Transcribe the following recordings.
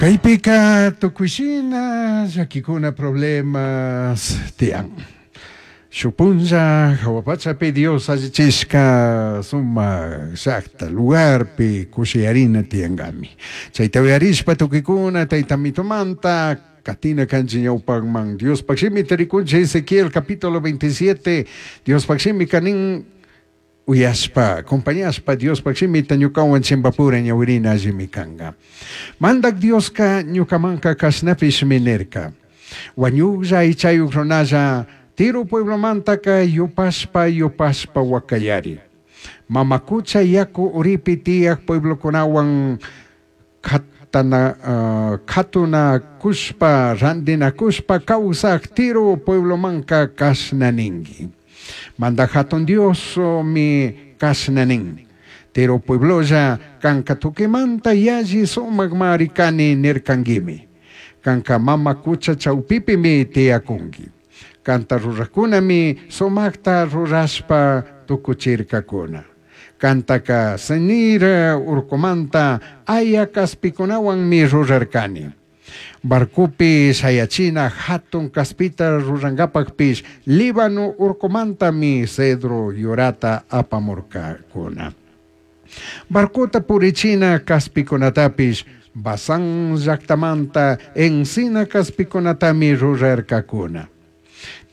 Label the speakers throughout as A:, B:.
A: Kaypika tukuy-shina llaquicuna problemas tiyan. Shuk punlla jahua pachapi Dios allichishka sumak llakta lugarpi kushiyarina tiyankami. Chayta uyarishpa tukuykuna Tayta Mitumanta katina kanchik ñawpakman. Diospaj shimita rikunchik Ezequiel capítulo 27 Diospaj shimika nin uyashpa, acompañashpa Diospaj shimita ñukawan chimbapura ñawirina allimi kanka. Mandak Dioska ñukamanka kashnapishmi nirka. Wañuklla aychayuk runalla Tiro pueblomantaka yupashpa yupashpa wakayari. Mama cucha yaku uripi tiyak pueblokunawan katana, katunakushpa randinakushpa kawsak Tiro pueblomanka kashna ninki. Mandak Jatun Diosmi kashna nin. Tiro pueblolla kanka tukimanta yalli sumakmari kani nirkankimi. Kanka mama cucha chawpipimi tiyakunki. Kanta rurakunami sumakta rurashpa tukuchirkakuna. Kantaka Senir urkumanta aya kaspikunawanmi rurarkani. Barcopi shayachina hatun kaspita rurankapakpish Líbano urkumantami cedro yurata apamurkakuna. Barcota purichina kaspikunatapish Basán llaktamanta encina kaspikunatami rurarkakuna.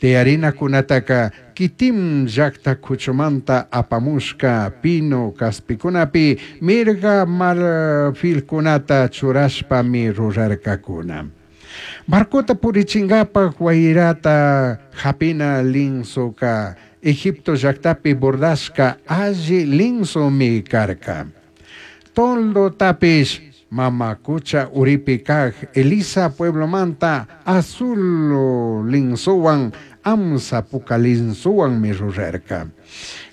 A: Tiyarinakunataka Kitim llakta kuchumanta apamushka pino kaspikunapi mirga marfilkunata churashpami rurarkakuna. Barcota purichinkapak wayrata hapina linsoka Egipto llaktapi bordashka alli linsomi karka. Toldotapish mama cucha uripi kak Elisa pueblomanta azul linsowan amsa puka linsowanmi rurarka.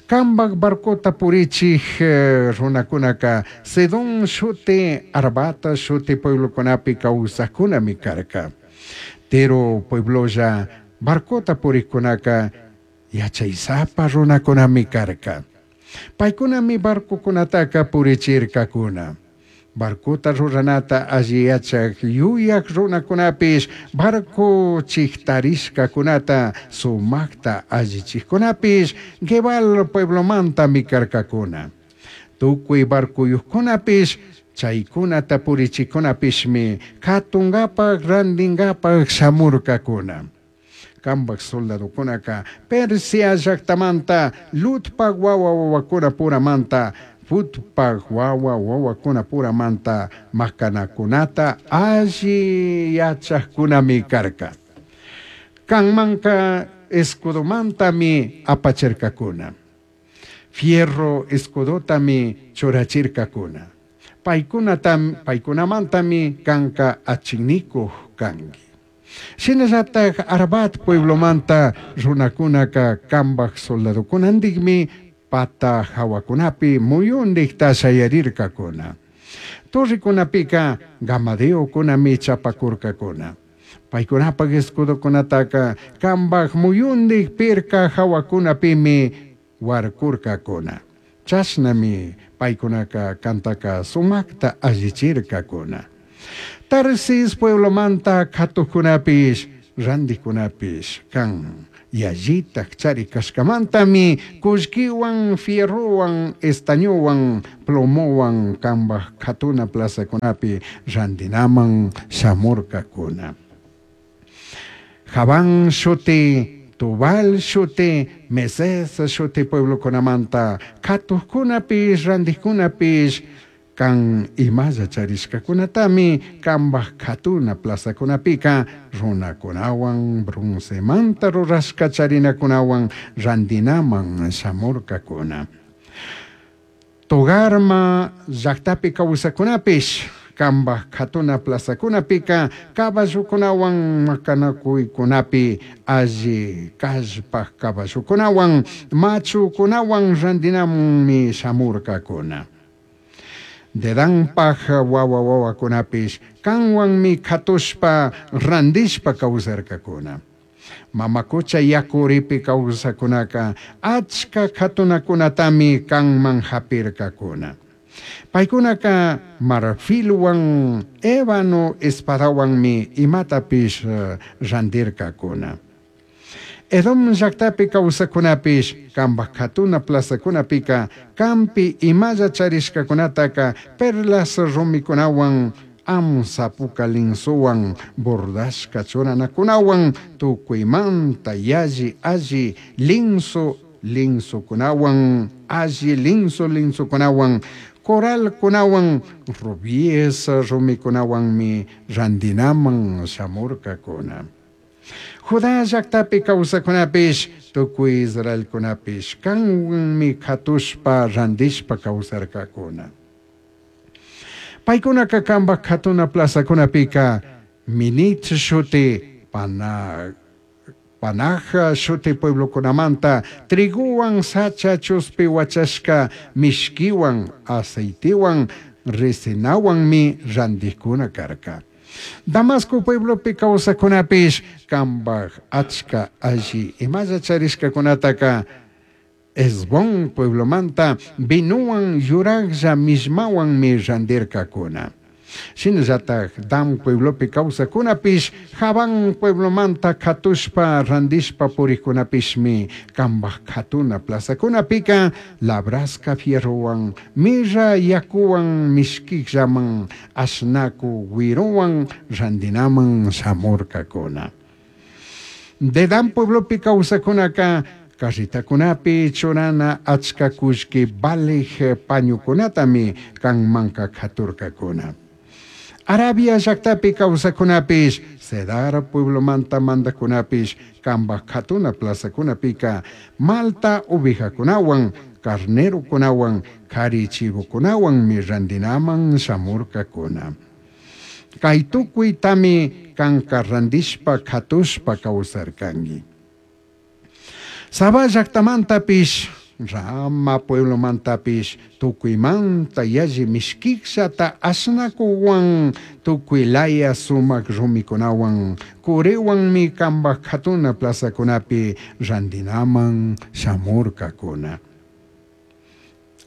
A: Kambak barcota purichik runakunaka Sidón shuti Arbata shuti pueblokunapi kawsakkunami karka. Tiro pueblolla barcota purikkunaka yachaysapa runakunami karka. Paykunami barcokunataka purichirkakuna. Barcota ruranata alli yachak yuyak runakunapish barco chiktarishkakunata sumakta allichikkunapish Gebal pueblomantami karkakuna. Tukuy barcuyukkunapish chaykunata purichikkunapishmi katunkapak rantinkapak shamurkakuna. Kambak soldadokunaka Persia llaktamanta Lutpak wawa wawakuna puramanta Futpak wawa wawakuna puramanta makanakunata alli yachakkunami karka. Kanmanka escudomantami apachirkakuna. Fierro escudotami churachirkakuna. Paykunamantami kanka achinikuq kanki. Shinallatak Arbat pueblomanta runakunaka kambak soldadokunantikmi pata hawakunapi muyundikta shayarirkakuna. Torrekunapika gamadeokunami chapakurkakuna. Paykunapak escudokunataka kambak muyundik pirka hawakunapimi warkurkakuna. Chashnami paykunaka kantaka sumakta allichirkakuna. Tarsis pueblomanta katukunapish randikunapish kan yallitak chari kashkamantami kullkiwan fierrowan estañowan plomowan kambak katuna plazakunapi randinaman shamurkakuna. Javán shuti, Tubal shuti, Meses shuti pueblokunamanta katukunapish randikunapish kan imalla charishkakunatami kambak katuna plazakunapika runakunawan broncemanta rurashka charinakunawan randinaman shamurkakuna. Togarma llaktapi kawsakunapish kambak katuna plazakunapika caballokunawan makanakuykunapi alli kallpak caballokunawan machukunawan randinamanmi shamurkakuna. Dedanpaj wawa wawakunapish kanwanmi katushpa randishpa kawsarkakuna. Mama cucha yakuripi kawsakunaka achka katunakunatami kanman hapirkakuna. Paicunaca marfilhuan, ébano espadahuanmi imatapish randircacuna. Edom llajtapi causajcunapish cambaj jatuna plazacunapica canpi imalla charishcacunataca perlas rumicunahuan, amsa puca linsohuan, bordashca churanacunahuan, tucuimanta yalli alli linso linsocunahuan, alli linso linsocunahuan, coralcunahuan, rubíes rumicunahuanmi randinaman shamurcacuna. Judá llajtapi causajcunapish, tucui Israelcunapish canhuanmi catushpa randishpa causarcacuna. Paicunaca cambaj jatuna plazacunapica Minit shuti, Panaja shuti pueblocunamanta trigohuan sacha chuspi huachashca mishquihuan, aceitehuan, resinahuanmi randijcuna carca. Damasco pueblopi causajcunapish cambaj achca alli imalla charishcacunataca Hesbón pueblomanta vinohuan yurajlla millmahuanmi randircacuna. Shinallataj Dan pueblopi causajcunapish, Javán pueblomanta catushpa randishpa purijcunapishmi cambaj jatuna plazacunapica labrashca fierrohuan, mirra yacuhuan mishquijllaman ashnacu huiruhuan randinaman shamurcacuna. Dedán pueblopi causajcunaca carretacunapi churana achca cullqui valij pañucunatami canmanca caturcacuna. Arabia llajtapi causajcunapish, Cedar pueblomanta mandajcunapish, cambaj jatuna plazacunapica malta ovejacunahuan, carnerocunahuan, cari chivocunahuanmi randinaman shamurcacuna. Cai tucuitami canca randishpa catushpa causarcangui. Sabá llajtamantapish, Rama pueblomantapish, tucuimanta yalli mishquijllata ashnacuhuan, tucui laya sumaj rumicunahuan, curihuanmi cambaj jatuna plazacunapi randinaman shamurcacuna.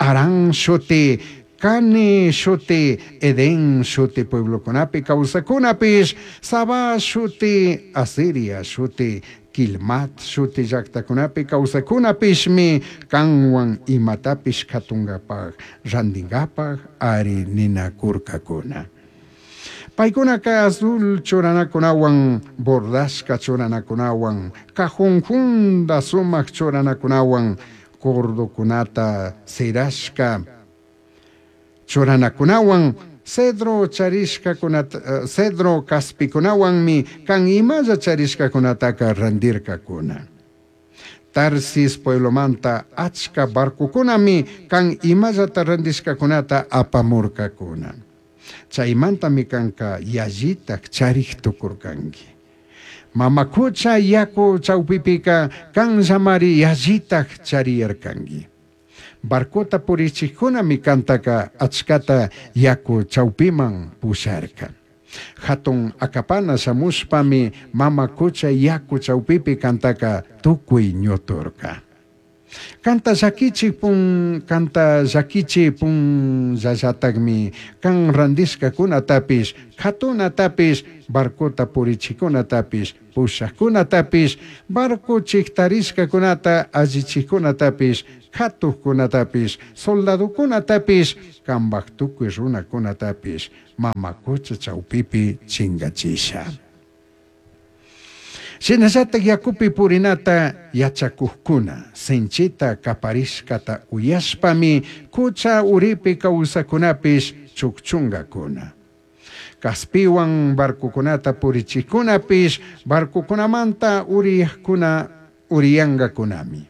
A: Harán shuti, Cane shuti, Edén shuti pueblocunapi causajcunapish, Sabá shuti, Asiria shuti, Quilmat shuti llajtacunapi causajcunapishmi canhuan imatapish catungapaj, randingapaj ari ninacurcacuna. Paicunaca azul churanacunahuan, bordashca churanacunahuan, cajón junda sumaj churanacunahuan, cordocunata sirashca churanacunahuan, cedro charishcacunata, cedro caspicunahuanmi can imalla charishcacunataca randircacuna. Tarsis pueblomanta achca barcocunami can imallata randishcacunata apamurcacuna. Chaimantami canca yallitaj charij tucurcangui. Mama cucha yacu chaupipica canllamari yallitaj chariyarcangui. Barcota purichijcunami cantaca achcata yacu chaupiman pusharca. Jatun acapana shamushpami mama cucha yacu chaupipi cantaca tucui ñuturca. Canta llaquichi pun, canta llaquichi punllallatajmi can randishcacunatapish, jatunatapish, barcota purichijcunatapish, pushajcunatapish, barco chijtarishcacunata allichijcunatapish, catujcunatapish, soldadocunatapish, cambaj tucui runacunatapish, mama cucha chaupipi chingachisha. Shinallataj yacupi purinata yachacujcuna, sinchita caparishcata uyashpami cucha uripi causajcunapish chujchungacuna. Caspihuan barcocunata purichijcunapish barcocunamanta uriyajcuna uriyangacunami.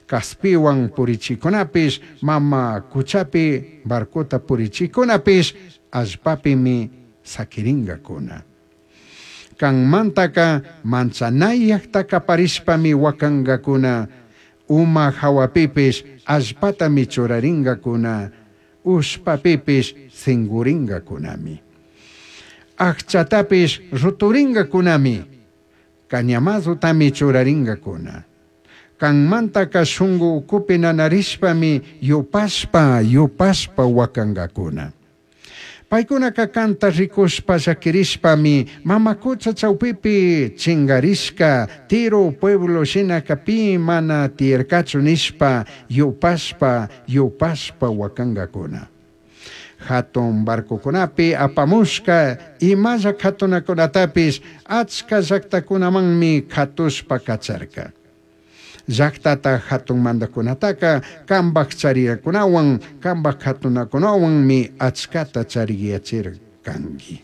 A: Caspihuan purichijcunapish mama cuchapi barcota purichijcunapish allpapimi saquiringacuna. Canmantaca manchanayajta caparishpami huacangacuna, uma jahuapipish allpatami churaringacuna, ushpapipish singuringacunami. Ajchatapish ruturingacunami, cañamazutami churaringacuna. Canmantaca shungu ucupi nanarishpami yupashpa yupashpa huacangacuna. Paicunaca canta ricushpa llaquirishpami mama cucha chaupipi chingarishca Tiro pueblo shinaca pi mana tiyarcachu nishpa yupashpa yupashpa huacangacuna. Jatun barcocunapi apamushca imalla jatunacunatapish achca llactacunamanmi jatushpa cacharca. Llactata jatun mandajcunataca cambaj chariracunahuan, cambaj jatunacunahuanmi achcata chariyachircangui.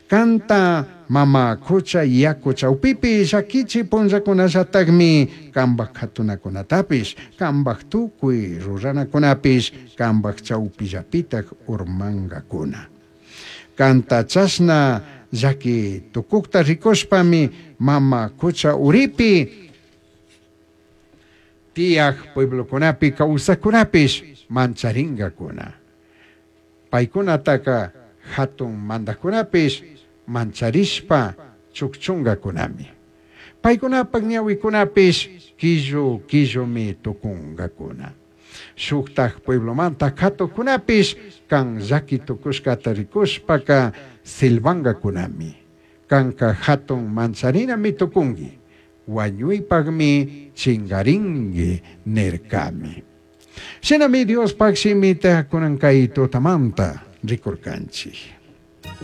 A: Canta mama cucha yacu chaupipi llaquichi punllacunallatajmi cambaj jatunacunatapish, cambaj tucui ruranacunapish, cambaj chaupillapitaj urmangacuna. Canta chashna llaqui tucujta ricushpami mama cucha uripi tiyaj pueblocunapi causajcunapish mancharingacuna. Paicunataca jatun mandajcunapish mancharishpa chujchungacunami. Paicunapaj ñahuicunapish quillu quillumi tucungacuna. Shujtaj pueblomanta jatujcunapish can llaqui tucushcata ricushpaca silbangacunami. Canca jatun mancharinami tucungui. Huañuipajmi chingaringui nircami. Shinami Diospaj shimita cunan cai tutamanta ricurcanchij.